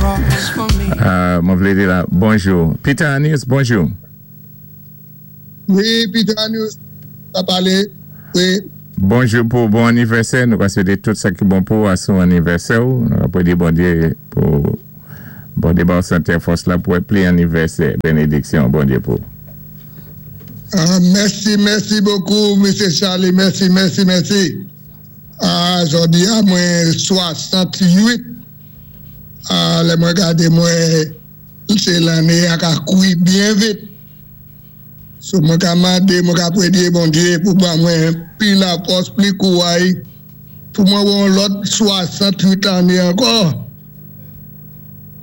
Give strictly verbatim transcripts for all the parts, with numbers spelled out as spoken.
cross for me. Euh, mwen vlé di la, bonjou. Peter Anius, bonjou. Wi, Peter Anius, ka palé. Wi. Bonjou pou bon anivèsè. Nou ka swété tout sa ki bon pou a sou anivèsè ou. Nou ka pwédé Bondyé pou Bondyé ba ou santé fòs la pou wè pli anivèsè. Bénédiksyon, Bondyé pou. Ah, mèsi, mèsi bokou, Mesye Charlie. Mèsi, mèsi, mèsi. Ah, jòdi a mwen swasann-tuit. Ah, lè mwen gadé mwen, sé lanné a ka koui byen vit. So mwen ka mandé, mwen ka pwédé Bondyé pou ba mwen pli lafòs, pli kouway, pou mwen wè yon lòt swasann-tuit lanné ankò.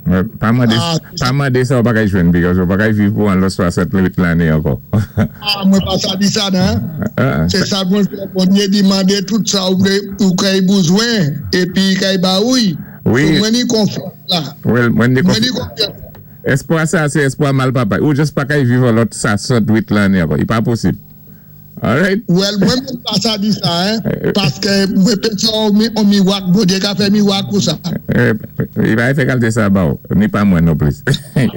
Ouais, Pa mandé, Ah. pa mandé sa ou pa kay jwenn, because ou pa kay viv pou an lòt swasann-tuit lanné ankò. Ah, mwen pa sa di sa, nan? Ah, Sé sa mwen fè Bondyé di mandé tout sa ou vlé ou kay bezwen épi kay ba ou'y. Wi. So mwen ni konfyans la. Well, mwen ni Mwen ni konfyans. Espwa sa, sé espwa mal papa. Ou just pa kay viv an lòt swasann-tuit lanné ankò. I pa posib. Alright? Well, mwen mwen pa sa di sa, hein, paské mwen pansé an mi, an miwak, Bondyé ka fè miwak ou sa. Eh, i pa fè kalte sa ba ou. Ni pa mwen non plis. Eh,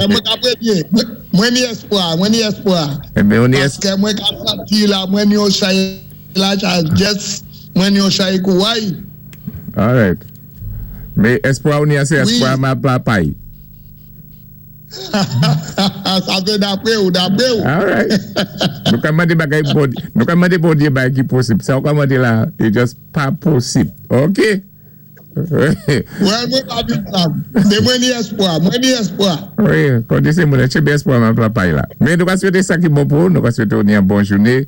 Mwen ka pwédé, mwen, mwen ni espwa, mwen ni espwa. Eh ben, on y es... Paské mwen ka santi la, mwen ni yon chay la, just, mwen ni yon chay kouway. Alright. Mé espwa ou ni a sé Wi. espwa mal papay. Sa sé dapwé ou, dapwé ou. Alright. Nou ka mandé bagay Bondyé, nou ka mandé Bondyé bagay ki posib. Sa ou ka mandé la, i just pa posib. Ok? Well, mwen pa di sa. Mé mwen ni espwa, mwen ni espwa. Wi, kon di sé moun, tchenbé espwa mal papay la. Mé nou ka swété sa ki bon pou, nou ka swété ou ni an bon jouné,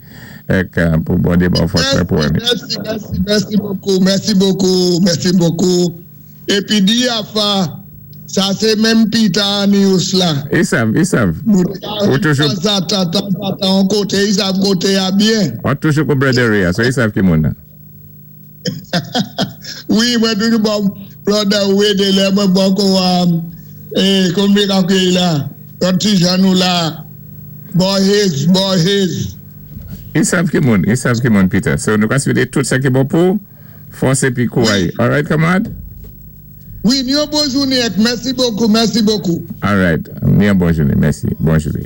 ek pou Bondyé ba ou fòs Mèsi, pou emi. mèsi, mèsi, mèsi bokou, mèsi bokou, mèsi bokou. Épi di afa, sa sé menm Peter Anius la. I sav, i sav. Nou té ka Ou toujou- tanzantan, tanzantan, an koté, i sav koté a byen. Ou toujou kou brother Ray, so i sav ki moun nan. Wi, mwen toujou bon, brother Ray de lè, mwen bon kou, um, eh, konbyen ka kwe la, lòt ti jan nou la, Borges, Borges. I sav ki moun, i sav ki moun, Peter. So nou ka swété tout sa ki bon pou, fòs épi kouway. Alright, kamarad? Wi, ni yon bon jouné, mèsi bokou, mèsi bokou. Alright. Ni an bon jouné, mèsi. Bon jouné.